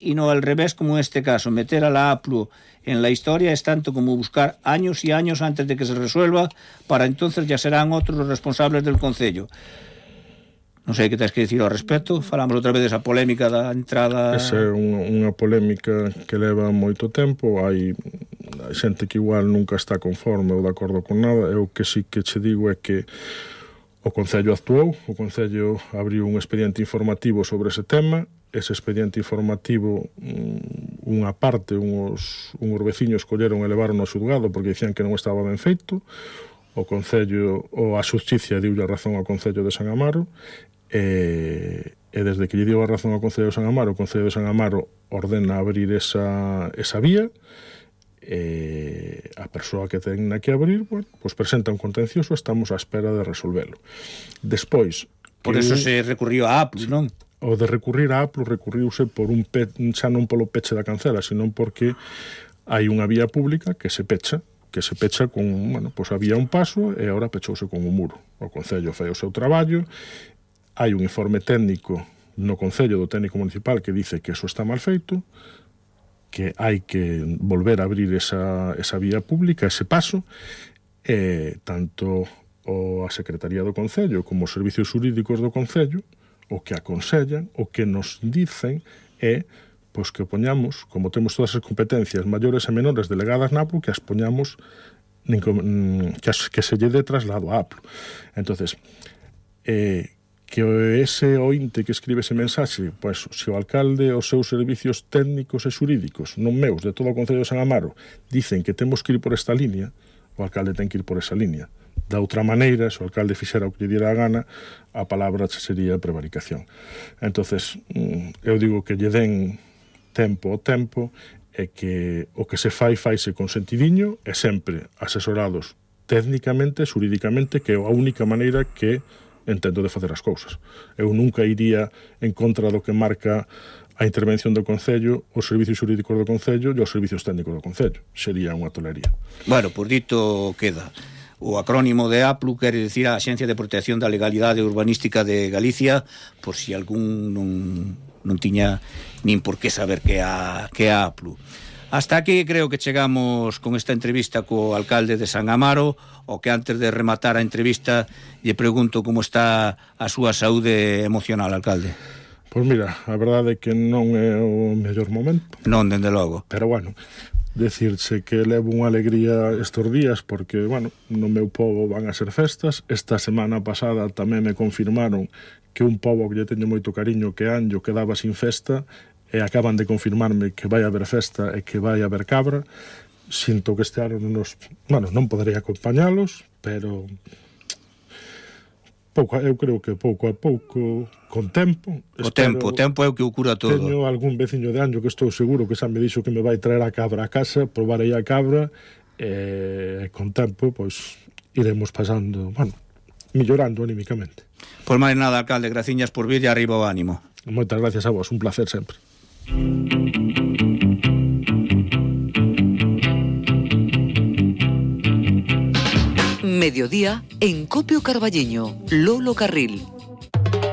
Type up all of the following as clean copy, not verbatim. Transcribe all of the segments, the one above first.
y no al revés como en este caso. Meter a la APLU en la historia es tanto como buscar años y años antes de que se resuelva, para entonces ya serán otros los responsables del Concello. Non sei que tens que dicir ao respecto. Falamos outra vez desa polémica da entrada. Esa é unha polémica que leva moito tempo. Hai xente que igual nunca está conforme ou de acordo con nada. Eu que sí que che digo é que o Concello actuou, o Concello abriu un expediente informativo sobre ese tema. Ese expediente informativo, unha parte, uns veciños colleron e levaron ao xulgado porque dicían que non estaba ben feito. O Concello, ou a Xusticia diulle a razón ao Concello de San Amaro, e desde que lle dio a razón ao Concello de San Amaro, o Concello de San Amaro ordena abrir esa vía, e a persoa que ten que abrir, bueno, pues presenta un contencioso, estamos á espera de resolvelo. Despois... Por eso se recurriu a APLU, non? O de recurrir a APLU recurriuse por xa non polo peche da cancela, senón porque hai unha vía pública que se pecha con, bueno, pues había un paso e agora pechouse con un muro. O Concello fai o seu traballo, hai un informe técnico no Concello do técnico municipal que dice que eso está mal feito, que hai que volver a abrir esa vía pública, ese paso, e tanto a Secretaría do Concello como os servicios xurídicos do Concello o que aconsellan, o que nos dicen é pois que poñamos, como temos todas as competencias maiores e menores delegadas na APLU, que as poñamos que se lle dé traslado a APLU. Entonces, que ese ointe que escribe ese mensaxe, pois, se o alcalde, os seus servicios técnicos e xurídicos, non meus, de todo o Concello de San Amaro, dicen que temos que ir por esta línea, o alcalde ten que ir por esa línea. Da outra maneira, se o alcalde fixera o que lle diera a gana, a palabra sería prevaricación. Entonces, eu digo que lle den tempo ao tempo, e que o que se faise con sentidiño e sempre asesorados técnicamente, xurídicamente, que é a única maneira que entendo de facer as cousas. Eu nunca iría en contra do que marca a intervención do Concello, os servicios xurídicos do Concello e os servicios técnicos do Concello. Sería unha tolería. Bueno, por dito queda. O acrónimo de APLU quere dicir a Axencia de Protección da Legalidade Urbanística de Galicia, por si algún non tiña nin por que saber que a APLU. Hasta aquí creo que chegamos con esta entrevista co alcalde de San Amaro, o que antes de rematar a entrevista lle pregunto como está a súa saúde emocional, alcalde. Pois mira, a verdade é que non é o mellor momento. Non, dende logo. Pero bueno, decirse que levo unha alegría estes días porque, bueno, no meu pobo van a ser festas. Esta semana pasada tamén me confirmaron que un pobo que lle teño moito cariño, que Anllo, quedaba sin festa, e acaban de confirmarme que vai haber festa e que vai haber cabra. Sinto que este ano non poderei acompañalos, pero eu creo que pouco a pouco, con tempo. O tempo é o que o cura todo. Teño algún veciño de Anllo que estou seguro que xa me dixo que me vai traer a cabra a casa, probarei a cabra, e con tempo, pois, iremos pasando, millorando anímicamente. Pois máis nada, alcalde, graciñas por vir e arriba o ánimo. Moitas gracias a vos, un placer sempre. Mediodía en Copio Carballiño, Lolo Carril.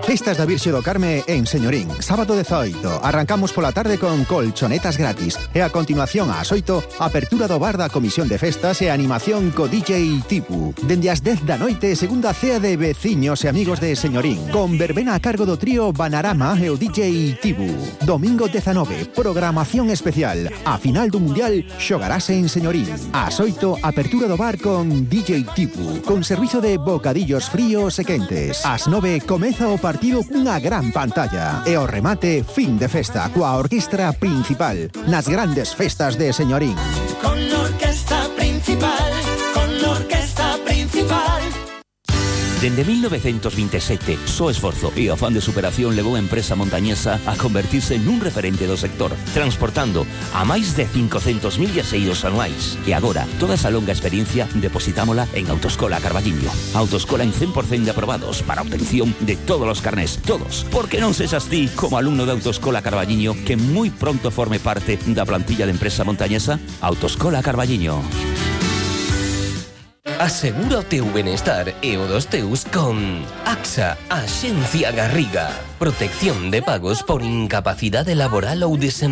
Festas da Virxe do Carme en Señorín, sábado 18. Arrancamos pola tarde con colchonetas gratis e a continuación ás 8, apertura do bar da Comisión de Festas e animación co DJ Tipu. Dende as 10 da noite, segunda cea de veciños e amigos de Señorín, con verbena a cargo do trío Banarama e o DJ Tipu. Domingo 19, programación especial. A final do Mundial xogarase en Señorín. Ás 8, apertura do bar con DJ Tipu, con servizo de bocadillos fríos e quentes. Ás 9, comeza o partido cunha gran pantalla e o remate fin de festa coa orquestra principal nas grandes festas de Señorín. Con la orquesta principal, con la orquesta principal. Dende 1927, só esforzo e afán de superación levou a empresa montañesa a convertirse nun referente do sector, transportando a máis de 500.000 viaxeiros anuais. E agora, toda esa longa experiencia depositámola en Autoescola Carballiño. Autoescola en 100% de aprobados para obtención de todos os carnés, todos. Porque non sexas ti, como alumno de Autoescola Carballiño, que moi pronto forme parte da plantilla de empresa montañesa? Autoescola Carballiño. Asegura o teu benestar e o dos teus con AXA, Axencia Garriga. Protección de pagos por incapacidade laboral ou desemprego.